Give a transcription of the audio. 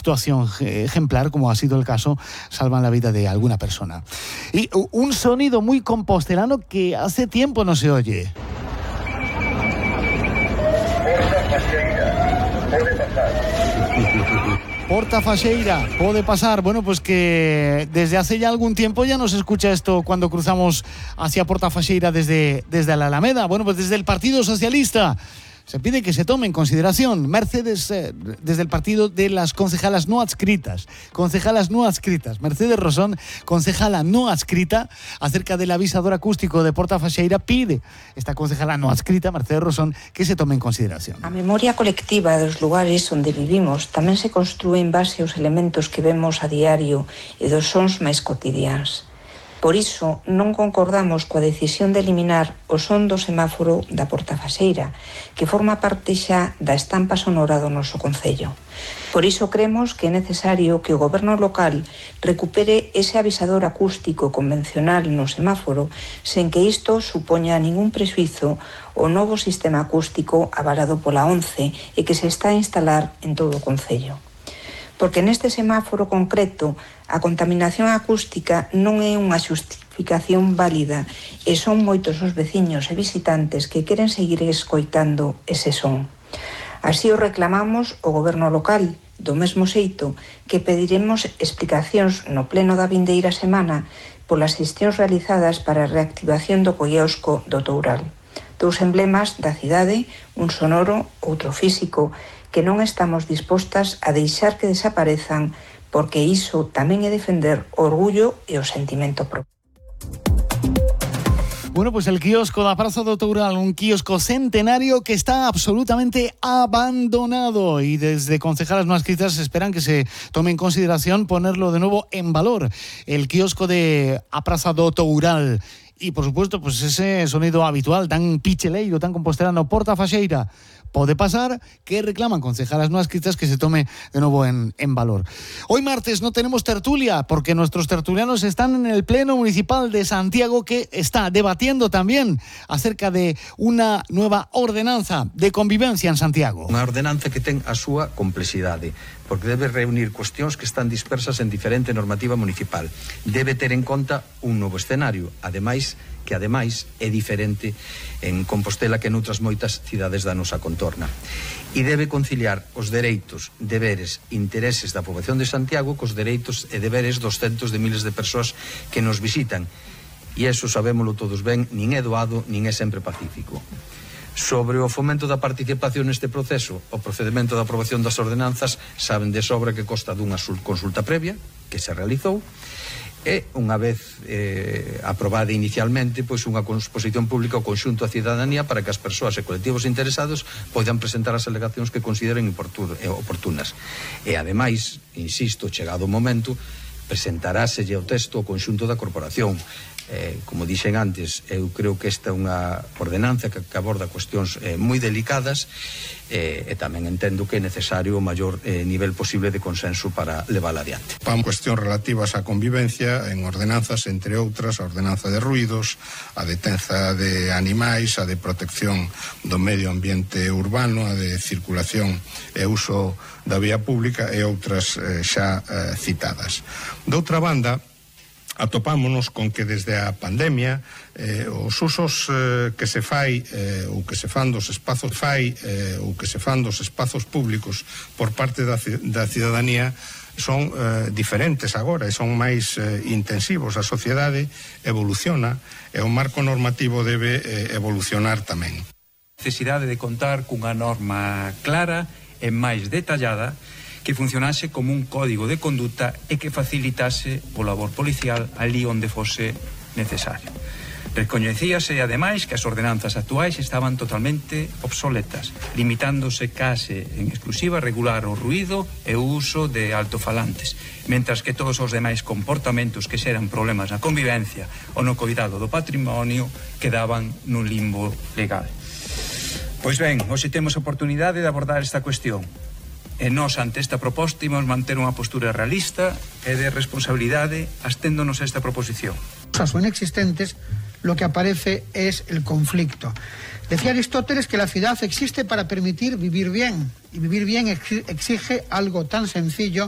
actuación ejemplar, como ha sido el caso, salvan la vida de alguna persona. Y un sonido muy compostelano que hace tiempo no se oye. Porta Faxeira, puede pasar. Bueno, pues que desde hace ya algún tiempo ya no se escucha esto cuando cruzamos hacia Porta Faxeira desde la Alameda. Bueno, pues desde el Partido Socialista se pide que se tome en consideración Mercedes, desde el partido de las concejalas no adscritas. Mercedes Rosón, concejala no adscrita, acerca del avisador acústico de Porta Faxeira, pide esta concejala no adscrita, Mercedes Rosón, que se tome en consideración. A memoria colectiva dos lugares onde vivimos tamén se construe en base aos elementos que vemos a diario e dos sons máis cotidiáns. Por iso, non concordamos coa decisión de eliminar o son do semáforo da Porta Faxeira, que forma parte xa da estampa sonora do noso concello. Por iso cremos que é necesario que o goberno local recupere ese avisador acústico convencional no semáforo, sen que isto supoña ningún prexuízo ao novo sistema acústico avalado pola ONCE e que se está a instalar en todo o concello. Porque neste semáforo concreto a contaminación acústica non é unha xustificación válida e son moitos os veciños e visitantes que queren seguir escoitando ese son. Así o reclamamos ao goberno local, do mesmo xeito que pediremos explicacións no pleno da vindeira semana polas xestións realizadas para a reactivación do quiosco do Toural. Dous emblemas da cidade, un sonoro, outro físico, que non estamos dispostas a deixar que desaparezan, porque iso tamén é defender o orgullo e o sentimento propio. Bueno, pues el kiosco da Praza do Toural, un kiosco centenario que está absolutamente abandonado, y desde concejalas no adscritas esperan que se tome en consideración ponerlo de nuevo en valor, el kiosco de a Praza do Toural. Y por supuesto, pues ese sonido habitual, tan picheleiro, tan compostelano, Porta Faxeira, puede pasar, que reclaman concejalas no adscritas que se tome de nuevo en valor. Hoy martes no tenemos tertulia, porque nuestros tertulianos están en el Pleno Municipal de Santiago, que está debatiendo también acerca de una nueva ordenanza de convivencia en Santiago. Unha ordenanza que ten a súa complexidade, porque debe reunir cuestións que están dispersas en diferente normativa municipal. Debe ter en conta un novo escenario, ademais é diferente en Compostela que noutras moitas cidades da nosa contorna. E debe conciliar os dereitos, deberes, intereses da poboación de Santiago cos dereitos e deberes dos centos de miles de persoas que nos visitan. E eso sabémolo todos ben, nin é doado, nin é sempre pacífico. Sobre o fomento da participación neste proceso, o procedimento da aprobación das ordenanzas, saben de sobra que consta dunha consulta previa que se realizou, e unha vez aprobada inicialmente, pois unha exposición pública ao conxunto da cidadanía para que as persoas e colectivos interesados poidan presentar as alegacións que consideren oportunas. E ademais, insisto, chegado o momento, presentaráselle o texto ao conxunto da corporación. Como dixen antes, eu creo que esta é unha ordenanza que aborda cuestións moi delicadas, e tamén entendo que é necesario o maior nivel posible de consenso para levála adiante. Pan cuestións relativas á convivencia en ordenanzas, entre outras, a ordenanza de ruidos, a detenza de animais, a de protección do medio ambiente urbano, a de circulación e uso da vía pública e outras xa citadas. Doutra banda, atopámonos con que desde a pandemia os usos que se fai ou que se fan dos espazos públicos por parte da cidadanía son diferentes agora e son máis intensivos. A sociedade evoluciona e o marco normativo debe evolucionar tamén. Necesidade de contar cunha norma clara e máis detallada que funcionase como un código de conduta e que facilitase o labor policial ali onde fose necesario. Recoñecíase, ademais, que as ordenanzas actuais estaban totalmente obsoletas, limitándose case en exclusiva a regular o ruído e o uso de altofalantes, mentras que todos os demais comportamentos que xeran problemas na convivencia ou no cuidado do patrimonio quedaban nun limbo legal. Pois ben, hoxe temos a oportunidade de abordar esta cuestión. E nós, ante esta proposta, imos manter unha postura realista e de responsabilidade asténdonos a esta proposición. Son inexistentes, lo que aparece es el conflicto. Decía Aristóteles que la ciudad existe para permitir vivir bien, y vivir bien exige algo tan sencillo